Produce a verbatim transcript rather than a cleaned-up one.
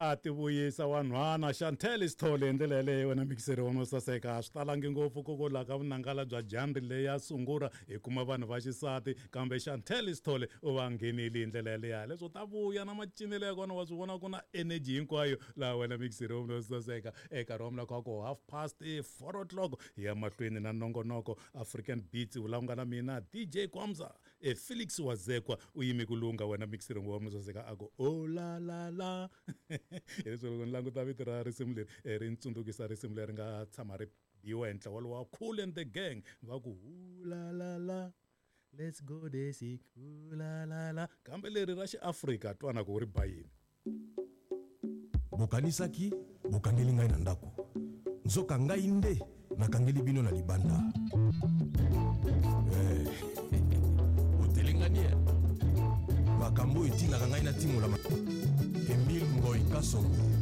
A ti vuyisa wanhwana Chantel Sithole hi ndlela yeleyo wena mikiseri wa saseka a swi talangi ngopfu koko laha ka vunangala bya jandri leyi ya sungula hi kuma vanhu va xisati kambe Chantel Sithole u va nghenile hi ndlela yeleyo leswo ta vuya na macinelo ya kona wa swi vona ku na energy hinkwayo laha wena mikiseri wa saseka eka nkarhi wa mina kha ku half past four o'clock hi ya mahlweni na nongonoko African Beats vulavunga na mina D J Kwamza e Felix Wazekwa u yime ku lunga wena mikiseri wa saseka a ku oh la la la leswi loko ni languta vito ra risimu leri ri ntsundukisa risimu leri nga tshama ri biwa hi ntlawa lowa Cool and the Gang va ku la la la let's go desi la la la kambe leri ra xiAfrika twana ku ri ba yini bokanisaki bokangeli ngai na ndako nzoka ngai nde nakangeli bino na libanda eh otelengani makambo etinaka ngai na timola Emile Ngoy Kasongo